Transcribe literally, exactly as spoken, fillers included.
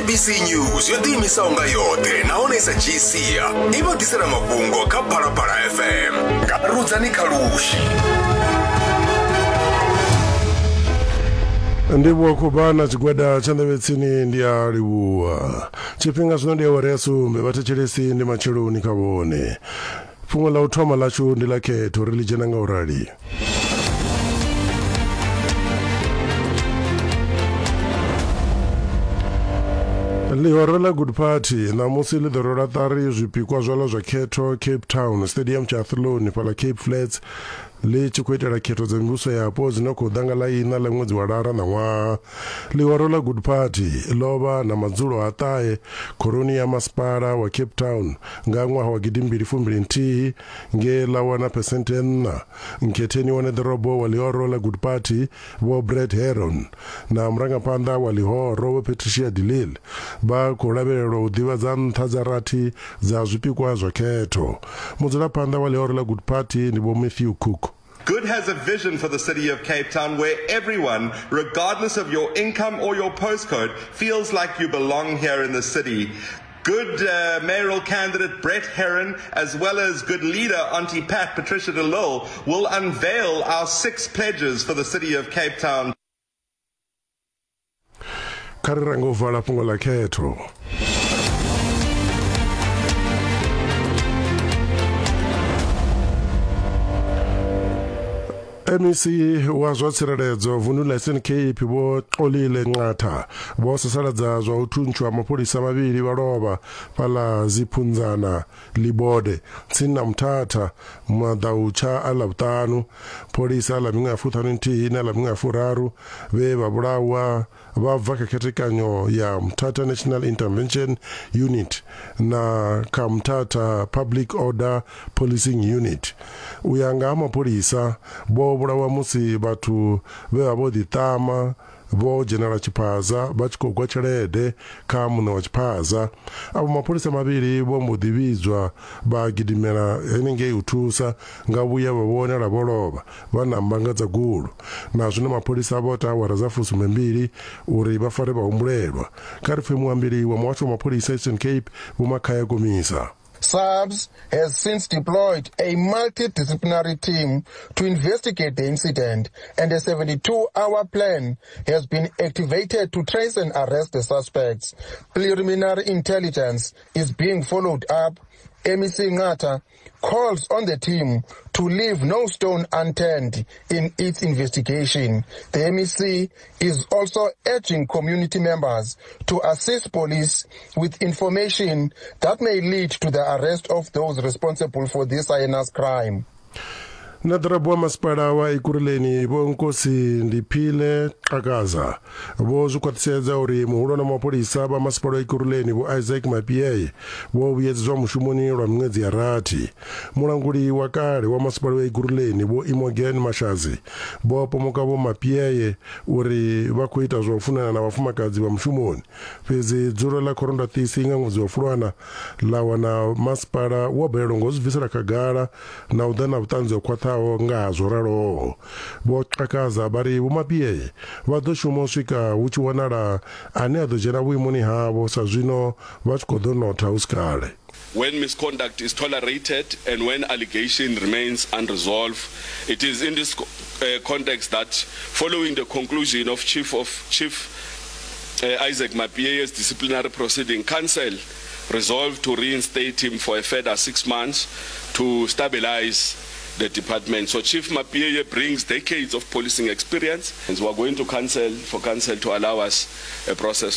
S A B C News yo ḓiimisaho nga yoṱhe nahone sa dzhii sia i vha ḓisela mafhungo kha Phalaphala F M nga Rudzani Khalushi. Ndivhuwa khuvha na tshigwada tsha nḓevhetsini, ndi a livhuwa. Tshifhinga zwino ndi awara ya sumbe. Vhathetshelesi, ndi matsheloni kha vhone. Fhungo ḽa u thoma ḽashu ndi ḽa khetho, ri ḽi dzhena nga u rali. Ḽihoro ḽa Good Party ṋamusi ḽi ḓo rola ṱari zwipikwa zwaḽo zwa khetho Cape Town Stadium tsha Athlone fhaḽa Cape Flats, ḽi tshi khou itela khetho dza mivhuso yapo dzine khou ḓa nga ḽa iṋa ḽa ṅwedzi wa Lara ṋaṅwaha. Ḽihoro ḽa Good Party ḽo vha na madzulo a ṱahe khoroni ya masipala wa Cape Town nga ṅwaha wa gidimbili fumbili nthihi nge ḽa wana phesenthe nṋa. Nkhetheni wa ḓorobo wa ḽihoro ḽa Good Party Vho Brett Heron na murangaphanḓa wa ḽihoro Vho Patricia de Lille vha khou lavhelelwa u ḓivhadza nṱha dza rathi dza zwipikwa zwa khetho. Mudzulaphanḓa wa ḽihoro ḽa Good Party ndi Vho Matthew Cook. Good has a vision for the city of Cape Town where everyone, regardless of your income or your postcode, feels like you belong here in the city. Good uh, mayoral candidate Brett Heron, as well as good leader Auntie Pat Patricia de Lille, will unveil our six pledges for the city of Cape Town. Kha ri range u vala fhungo ḽa khetho. M E C wa zwa tsireledzo vundu ḽa Eastern Cape Vho Xolile Nqatha vho sasaladza zwa u thuntshwa mapholisa mavhili vha lovha fhaḽa Ziphunzana Libode tsini na Mthatha maḓautsha a Ḽavhuṱanu. Pholisa ḽa miṅwaha ya fuṱhanu nthihi na ḽa miṅwaha ya furaru vhe vha vhulawa vha bva kha khethekanyo ya Mthatha National Intervention Unit na kha Mthatha Public Order Policing Unit. U ya nga ha mapholisa, vho vhulawa musi vhathu vhe vha vho ḓiṱama vho dzhenela tshiphaza vha tshi khou gwa tshelede kha muṋe wa tshiphaza. Avho mapholisa mavhili vho mbo ḓi vhidzwa vha gidimela henengei u thusa, nga vhuya vha vhonala vho lovha vha na mbanga dza gulu. Na zwino mapholisa vho ta awara dza fusumbembili uri vha fare vhahumbulelwa. Kha ri pfe muambeli wa muhasho wa mapholisa Eastern Cape Vho Makhaya Komisa. SAPS has since deployed a multidisciplinary team to investigate the incident, and a seventy-two-hour plan has been activated to trace and arrest the suspects. Preliminary intelligence is being followed up. M E C Nqatha calls on the team to leave no stone unturned in its investigation. The M E C is also urging community members to assist police with information that may lead to the arrest of those responsible for this heinous crime. Na ḓorobo wa masipala wa Ekurhuleni Vho Nkosi Ndiphile Xhakaza vho zwi khwaṱhisedza uri muhulwane wa mapholisa vha masipala wa Ekurhuleni Vho Isaac Mapiyeye vho vhuyedzedzwa mushumoni lwa miṅwedzi ya rathi. Mulanguli wa kale wa masipala wa Ekurhuleni Vho Imogen Mashazi vho pomoka Vho Mapiyeye uri vha khou ita zwa u funana na vhafumakadzi vha mushumoni, fhedzi dzulo ḽa khorondwaṱisi nga ṅwedzi wa Fulwana ḽa wana masipala wo balelwa ngo zwi bvisela khagala na u ḓa na vhuṱanzi ho khwaṱhaho nga ha zwo raloho. Vho Xhakaza vha ri Vho Mapiyeye vha ḓo shuma u swika hu tshi wanala ane a ḓo dzhena vhuimoni havho, sa zwino vha tshi khou ḓo notha hu si kale. When misconduct is tolerated and when allegation remains unresolved. It is in this uh, context that, following the conclusion of Chief of Chief uh, Isaac Mapiye's disciplinary proceeding, Council resolved to reinstate him for a further six months to stabilize the department. So Chief Mapiyeye brings decades of policing experience, and we are going to council for council to allow us a process